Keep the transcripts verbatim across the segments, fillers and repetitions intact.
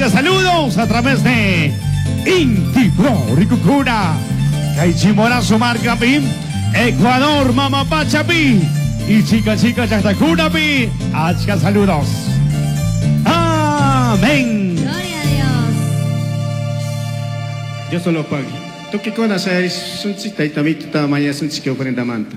Achka saludos a través de Inti Pro Rikucura. Kay Chimborazo markapi, Ecuador Mama Pachapi y chica chica llaqtakunapi. Achka saludos. Amén. Gloria a Dios. Dios solo pague. Tukikuna shayarisunchik taytamituta mañasunchik kay ofrendamanta.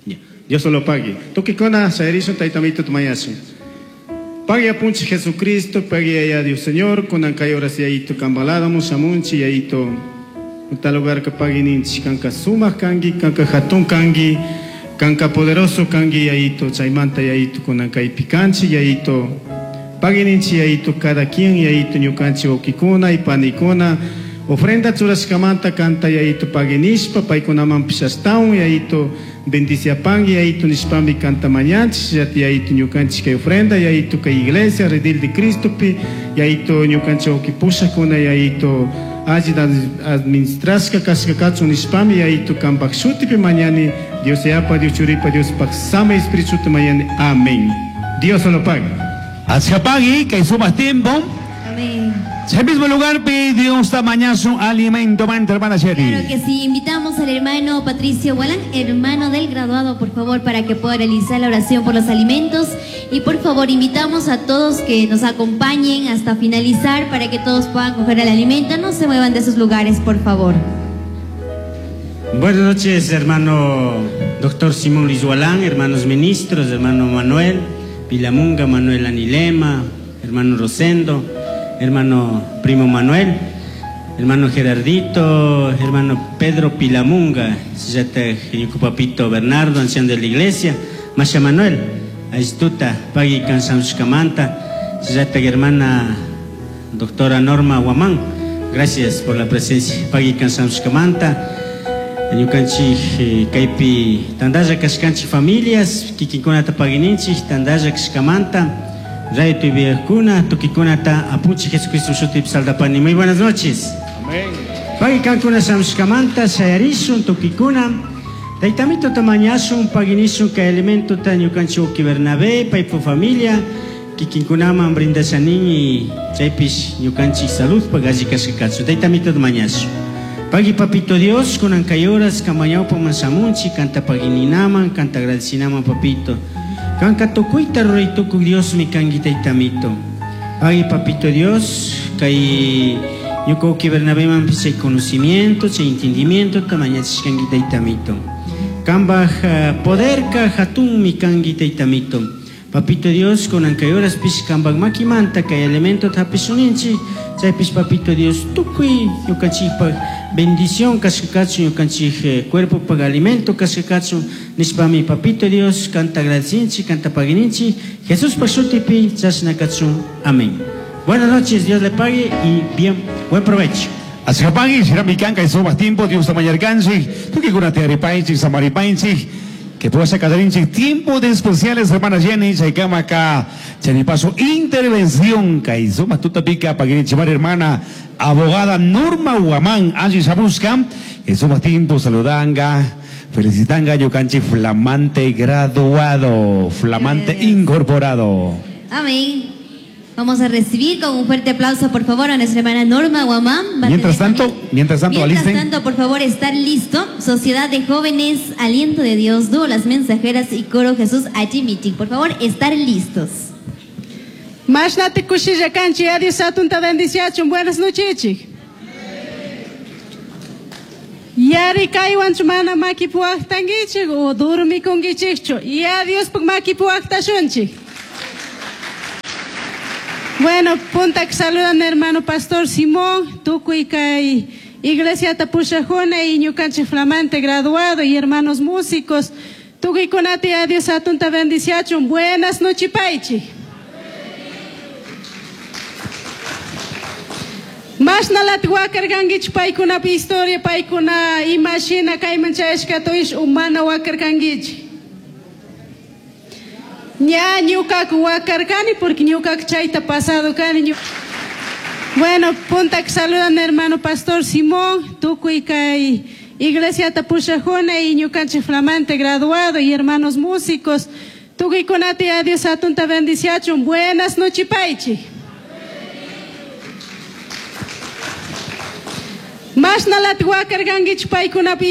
Ya. Dios solo pague. Tukikuna shayarisun taytamituta mañasun. Pague apunchi Jesucristo, pague allá Dios Señor, kunan kay horas yayito kambaladamu shamunchi yayito. Tal lugar que pague ninchi kanka sumaq kanki, kanka hatun kanki, kanka poderoso kanki yayito, chaymanta yayito kunan kaypi kanchi yayito. Pague ninchi yayito cada quien yayito ñukanchi wawkikuna y panikuna. Ofrenda churashkamanta kanta yayito pague nishpa, paykunamanpish ashtawan yayito bendiciapangi yayito nishpami kanta mañanchis, yati yayito ñukanchik kay ofrenda yayito kay iglesia redil de Cristopi yayito ñukanchik wawki pushakuna yayito alli administrashka kashka kachun nishpami yayito kanpak shutipi mañani Dios yapa Dios churipa Dios pak sama espíritu mañani. Amén. Dios lo pague. Achkapagui kay sumaq tiempo. Amén. El mismo lugar, Dios tamañazo alimento, manta, hermana Sherry. Claro que sí, invitamos al hermano Patricio Gualán, hermano del graduado, por favor, para que pueda realizar la oración por los alimentos. Y por favor, invitamos a todos que nos acompañen hasta finalizar para que todos puedan coger el alimento. No se muevan de sus lugares, por favor. Buenas noches, hermano doctor Simón Luis Gualán, hermanos ministros, hermano Manuel Pilamunga, Manuel Anilema, hermano Rosendo, hermano primo Manuel, hermano Gerardito, hermano Pedro Pilamunga, papito Bernardo, anciano de la iglesia, Masha Manuel, Aistuta, Pagui Kansamshkamanta, hermana doctora Norma Guamán, gracias por la presencia, Pagui Kansamshkamanta, ñukanchik kaypi tandalla kashkanchik familias, kikinkunata paguininchik, tandalla kashkamanta, Radio Tubiacuna, Tukikunata, Apunchi Jesucristo Shutip Saldapani. Muy buenas noches. Amén. Pagui kankuna samshkamanta, shayarishun, tukikuna. Taytamito tamañashun, paguinishun, kay elemento ta ñukanchik uki Bernabé, paypu familia, kikinkunaman brindashanin y chaypish ñukanchik salud pagalli kashkakachu. Taytamito tamañashun. Pagui papito Dios, kunan kay horas, kamañawpa mansamunchi, kanta paguininaman, kanta agradecinaman papito. Kanka tukuyta ruraytukuq Dios mi kanki taytamito. Pagui papito Dios, kay ñuka uki Bernabemanpis chay conocimiento, chay entendimiento, tamañachishkanki taytamito. Kambaj poderka hatun mi kanki taytamito. Papito Dios, kunan kay horaspish kambaj makimanta kay elemento hapishuninchik, chaypish papito Dios tukuy ñukanchikpaj bendición kashkakachu ñukanchik cuerpo pag alimento kashkakachu nishpami papito Dios kanta agradecinchik, kanta paguininchik, Jesús pa shutipi chashna kachun. Amén. Buenas noches, Dios le pague y bien, buen provecho. Achkapagui, será mi kanka y sumaq tiempo, Dios tamañarkanchik, tukikunata yaripaychik, samaripaychik, que pueda sacar tiempo de especiales, hermana Jenny, chaykama acá, chanipaso, intervención, kay sumaq tutapika, paguininchimar, hermana, abogada Norma Guamán, Angie Sabusca, que sumaq tiempo, saludanga, felicitanga, ñukanchik, flamante graduado, flamante Gracias. incorporado. Amén. Vamos a recibir con un fuerte aplauso, por favor, a nuestra hermana Norma Guamán. Va a Mientras tener tanto, también mientras tanto, Mientras alisten. tanto, por favor, estar listo. Sociedad de Jóvenes, Aliento de Dios, Dúo Las Mensajeras y Coro Jesús Achimichik. Por favor, estar listos. Mashnati kushilla kanchi, adiós atunta bendiciachun. Buenas noches, chik. Yari kaywanchu mana makipuwaqtankichik o durmikunkichikchu. Ya Diospaq makipuwaqtashunchik. Bueno, punta que saludan hermano Pastor Simón, tukuy kay Iglesia Tapushajuna y ñukanchik flamante graduado y hermanos músicos. Tukuy kunati a Dios atunta bendiciachun. Buenas noches, paichi. Masnalat wakarkankichik paykunapa historia, paykuna imashina kayman chayashkata umana wakarkankichik. Ña ñukaka wakarkani porque ñukaka chayta pasado kani. Bueno, punta que saludan hermano Pastor Simón, tukuy kay Iglesiata pushajuna y ñukanchik flamante graduado y hermanos músicos. Tukuykunata ya Dios atunta bendiciachun. Buenas noches, paichi. Mashnalata wakarkankichik paykunapi.